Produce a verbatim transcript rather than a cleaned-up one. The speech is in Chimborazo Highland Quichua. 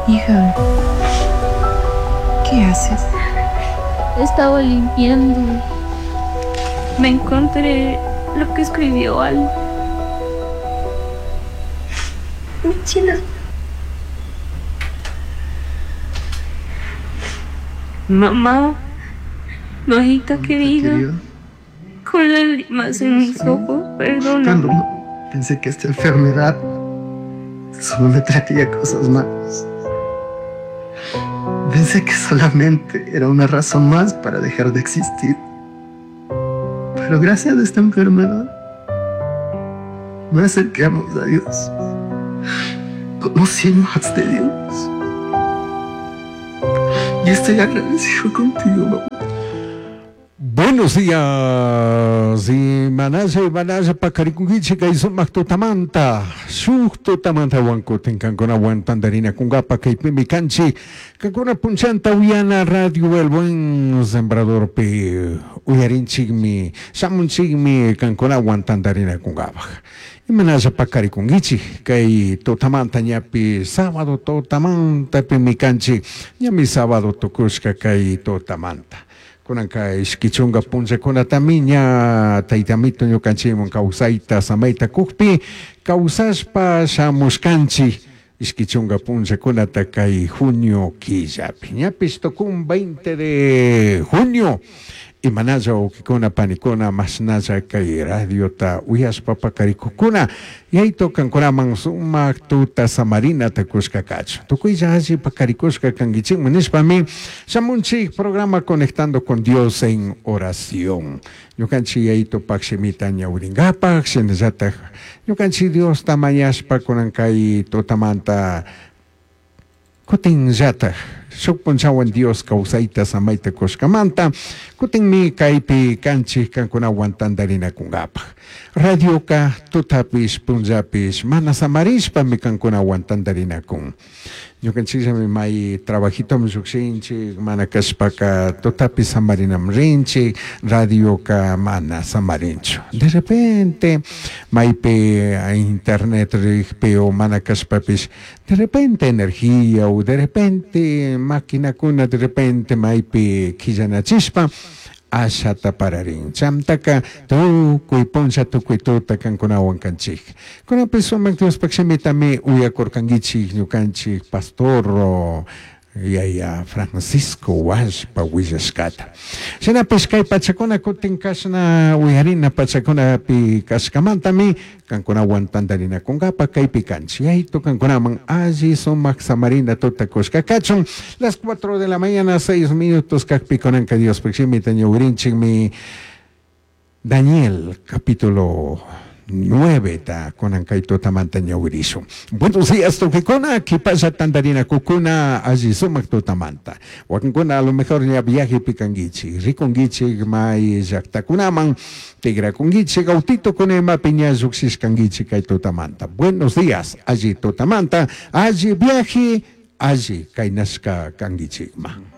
Hija, ¿qué haces? Estaba limpiando. Me encontré lo que escribió Al. Michela. Mamá, mamita querida, querida. Con lágrimas en mis ojos, perdóname. Cuando pensé que esta enfermedad solo me traería cosas malas. Pensé que solamente era una razón más para dejar de existir. Pero gracias a esta enfermedad, me acerqué a Dios. Conocí más de Dios. Y estoy agradecido contigo, mamá. Buenos días, y manaya y manaya pacarikungichi kay sumaq tutamanta, shuk tutamanta wankutin kankuna wantandarina kungapa kaypimi kanchik, kankuna punchanta uyana radio El Buen Sembrador pi uyarinchikmi, shamunchikmi kankuna wantandarina kungapaj. Imanalla pacarikungichi kay tutamanta ñapi sábado tutamanta pimi kanchik, ñami sábado tukushka kay tutamanta. Kunanka ishkichunga punllakunatami ña taytamito ñukanchikman kawsayta samayta kukpi kawsashpa shamushkanchik ishkichunga punllakunata kay junio killapi ñapish tukun veinte de junio imanalla wawkikuna panikuna mashnalla kay radiota uyashpa pakarikukuna yayto kankunaman sumak tuta samarinata kushka kachun tukuylla alli pakarikushka kankichikman nishpami shamunchik programa Conectando con Dios en Oración ñukanchik yayto pakshimita ñawrinkapak shinallatak ñukanchik Diosta mañashpa kunan kay tutamanta kutinllatak shuk punchawan Dios kawsayta samayta kushkamanta kutinmi kaypi kanchik kankunawan tantarinakunkapaj radioka tutapish punllapish mana samarishpami kankunawan tantarinakun ñukanchikllami may trabajitomi llukshinchik mana kashpaka tutapi samarinam rinchik radioka mana samarinchu de repente maypi internet rikpi o mana kashpapish de repente energía o de repente maquinakuna de repente maypi killanachishpa ashata pararin chamtaka tukuy puncha tukuy tuta kankunawan kanchik kunanpi sumak Diospaq shimitami uyakurkankichik ñukanchik pastor yaya Francisco Washpa willashkata shinapish kay pachakuna kutin kashna uyarina pachakunapi kashkamantami kankunawan tantarinakunkapa kaypi kanchik yaytu kankunaman alli sumak samarina tuta kushka kachun las cuatro de la mañana seis minutos kakpi kunanka Diospaq shimita ñawrinchikmi Daniel capítulo nueve ta kunan kay tutamanta ñawirishun. Buenos días tukikuna, kipasha tantarina kukuna alli sumak tutamanta. Wakinkuna a lo mejor ña viaje pikankichik, rikunkichik may llaqtakunaman, tigrakunkichik, autito kunema piña lluqshishkankichik kay tutamanta. Buenos días, alli tutamanta, alli viaje, alli kaynashka kankichikman.